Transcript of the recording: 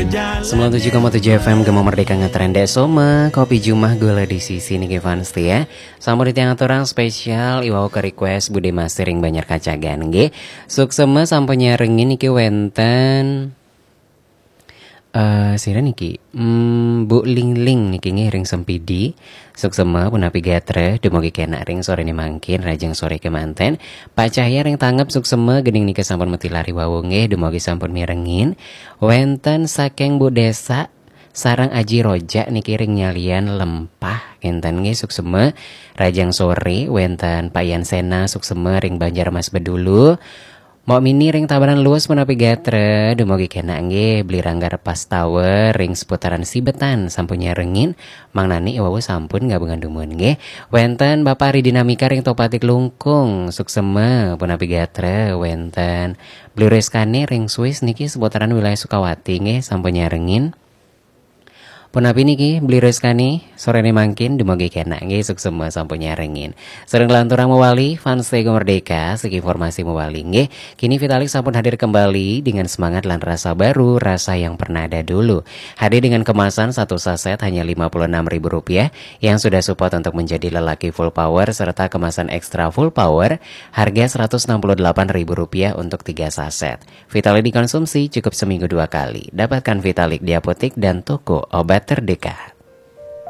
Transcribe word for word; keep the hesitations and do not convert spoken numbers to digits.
Sembilan tujuh koma tujuh F M Gema Merdeka ngetren dek soma, kopi jumah gula di sisi niki fans ya. Sampun ditiang aturang spesial, iwau ke request Bude Masih ring Banjar Kacagan nggih. Suksema sampun nyarengin niki wenten eh sira niki. Hmm, Bu Lingling niki nggih ring Sempidi. Suksema punapi gatra, dumugi kenak ring sorene mangkin, rajang sore kemanten. Pak Cahya ring Tangep suksema, gening nika sampun matilar iwau nggih, dumugi sampun mirengin. Wenten saking Bu Desa sareng Aji Rojak niki ring Nyalian Lempah, enten nggih suksema. Rajang sore wenten Pak Yan Sena suksema ring Banjar Mas Bedulu. Mok Mini ring Tabanan Luas punapi gatra, dumugi kenak nggih. Beli Rangga Repas Tower ring seputaran Sibetan sampun nyarengin, Mang Nani iwau sampun gabungan dumun nggih. Wenten Bapak Ridinamika ring Topatik Lungkung, suksema punapi gatra, wenten Beli Reskane ring Swiss niki seputaran wilayah Sukawati nggih sampun nyarengin. Punapi niki Beli Reskane, sorene mangkin dumugi kenak nggih, suksema sampun nyarengin. Sareng lanturang mawali, fans Tego Merdeka, siki informasi mawali nggih. Kini Vitalik sampun hadir kembali dengan semangat dan rasa baru, rasa yang pernah ada dulu. Hadir dengan kemasan satu saset hanya lima puluh enam ribu rupiah, yang sudah support untuk menjadi lelaki full power serta kemasan ekstra full power harga seratus enam puluh delapan ribu rupiah untuk tiga saset. Vitalik dikonsumsi cukup seminggu dua kali. Dapatkan Vitalik di apotek dan toko obat terdekat.